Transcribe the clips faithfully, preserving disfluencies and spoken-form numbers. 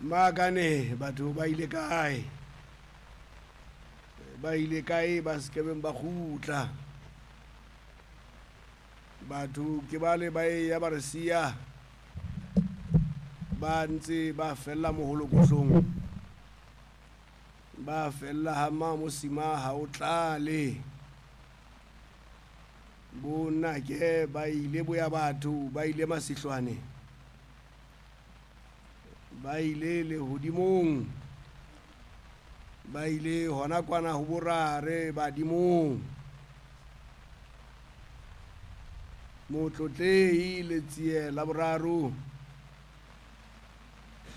Makane batho ba ile kae? Ba ile kae ba sekebeng ba kgutla? Batho ke bale ba eya ba re siya, ba ntse ba fella moholokohlong, ba fella ha Mamosima ha o tlale. Bonake ba ile boya batho, ba ile masihlwane, ba ile lehodimong, ba ile hona kwana ho borare badimong. Motlotlehi Letsie la boraro,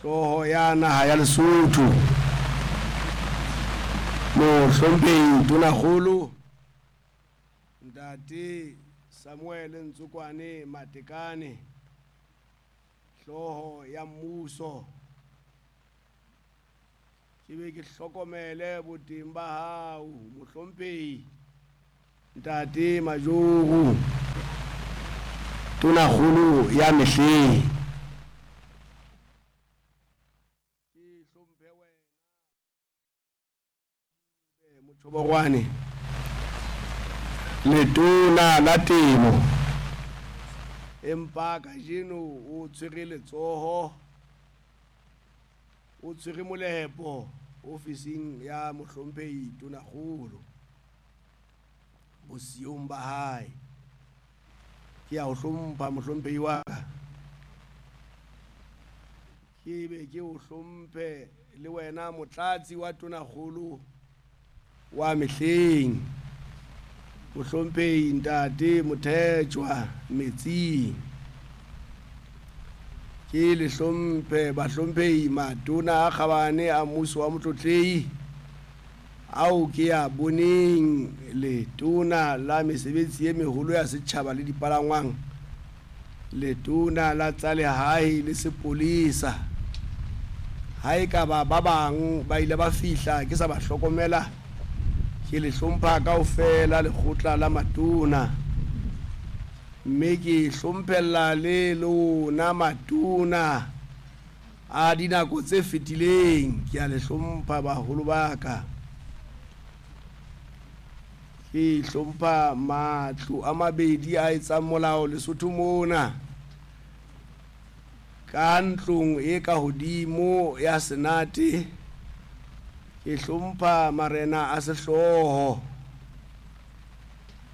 hlooho ya naha ya Lesotho, mohlomphehi Tonakgolo Ntate Samuel Ntsokwane Matekane, hlooho ya mmuso. Ke be ke hlokomele boteng ba hao mohlomphehi Ntate Majoro, Tonakgolo ya mehleng. Ke hlomphe wena Motjhobogwane, letona la temo, empa kajeno o tshwere letsoho, o tshwere molepo ofising ya mohlomphehi Tonakgolo bosiung ba hae. Ke a o hlompha mohlomphehi wa ka, ke be ke o hlomphe le wena motlatsi wa Tonakgolo wa mehleng, mohlomphehi Ntate Mothetjwa Metsing. Ke le hlomphe bahlomphehi matona a kgabane a mmuso wa motlotlehi ao ke a boneng, letona la mesebetsi e meholo ya setjhaba le dipalangwang, letona la tsa lehae le sepolesa. Ha e ka ba ba bang ba ile ba fihla ke sa ba hlokomela, ke le hlompha kaofela lekgotla la matona, mme ke hlomphella le lona matona a dinako tse fetileng. Ke a le hlompha baholo ba ka. Ke hlompha matlo a mabedi a etsang molao Lesotho mona, ka ntlong e ka hodimo ya Senate. Ke hlompha marena a sehlooho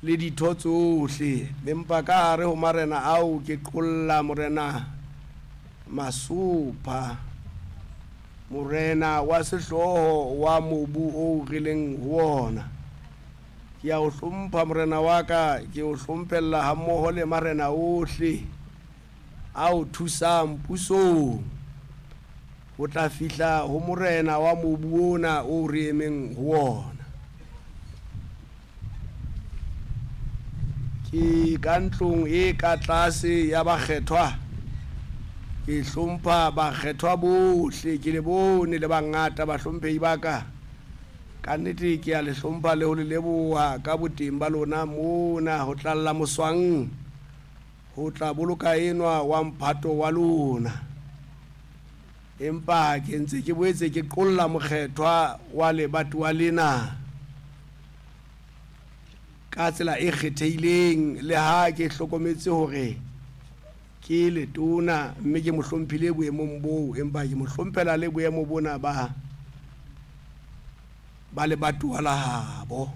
le ditho tsohle, empa ka hare ho marena ao ke qolla morena Masopha, morena wa sehlooho wa mobu oo re leng ho ona. Ke a o hlompha morena wa ka, ke o hlomphella hammoho le marena ohle a o thusang pusong ho tla fihla ho morena wa mobu ona o re emeng ho ona. Ke ka ntlong e ka tlase ya bakgethwa, ke hlompha bakgethwa bohle, ke le bone le bangata bahlomphehi ba ka. Ka nnete ke a le hlompha le ho le leboha ka boteng ba lona mona ho tlalla moswang ho tla boloka enwa wa mphato wa lona. Empa ke ntse ke boetse ke qolla mokgethwa wa lebatowa lena ka tsela e kgethehileng, le ha ke hlokometse hore ke letona mme ke mo hlomphile boemong boo, empa ke mo hlomphela le boemo bona ba ba lebatowa la habo.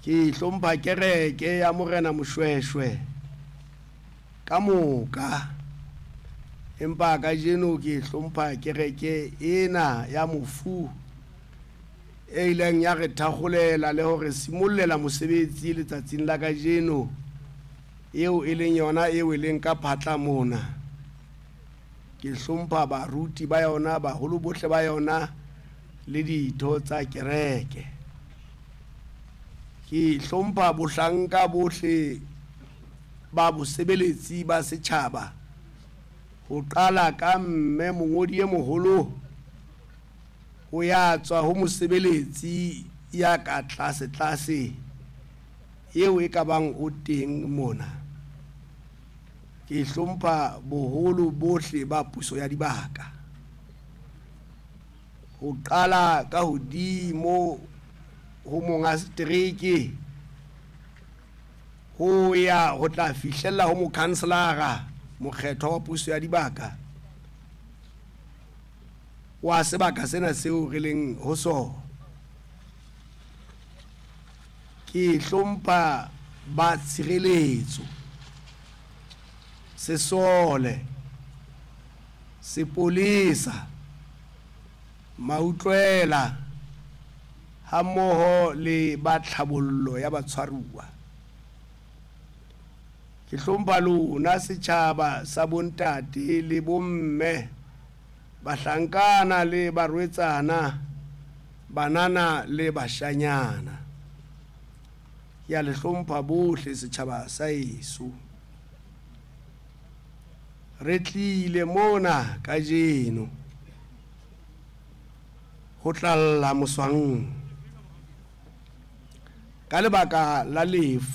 Ke hlompha kereke ya morena Moshweshwe ka moka, empa kajeno ke hlompha kereke ena ya mofu e ileng ya re thakgolela le hore simollela mosebetsi letsatsing la kajeno, eo e leng yona eo e leng ka phatla mona. Ke hlompha baruti ba yona, baholo bohle ba yona le ditho tsa kereke. Ke hlompha bohlanka bohle ba bosebeletsi ba setjhaba, ho qala ka mme mongodi e moholo ho ya tswa ho mosebeletsi ya ka tlase tlase eo e ka bang o teng mona. Ke hlompha boholo bohle ba puso ya dibaka. Ho qala ka hodimo ho monga setereke ho ya ho tla fihlella ho mokhanselara mokgethwa wa puso ya dibaka wa sebaka sena seo re leng ho sona. Ke hlompha ba tshireletso, sesole, sepolesa, mautlwela hammoho le ba tlhabollo ya batshwaruwa. Ke hlompha lona setjhaba sa bontate le bomme, bahlankana le barwetsana, banana le bashanyana. Ke a le hlompha bohle setjhaba sa heso. Re tlile mona kajeno ho tlalla moswang ka lebaka la lefu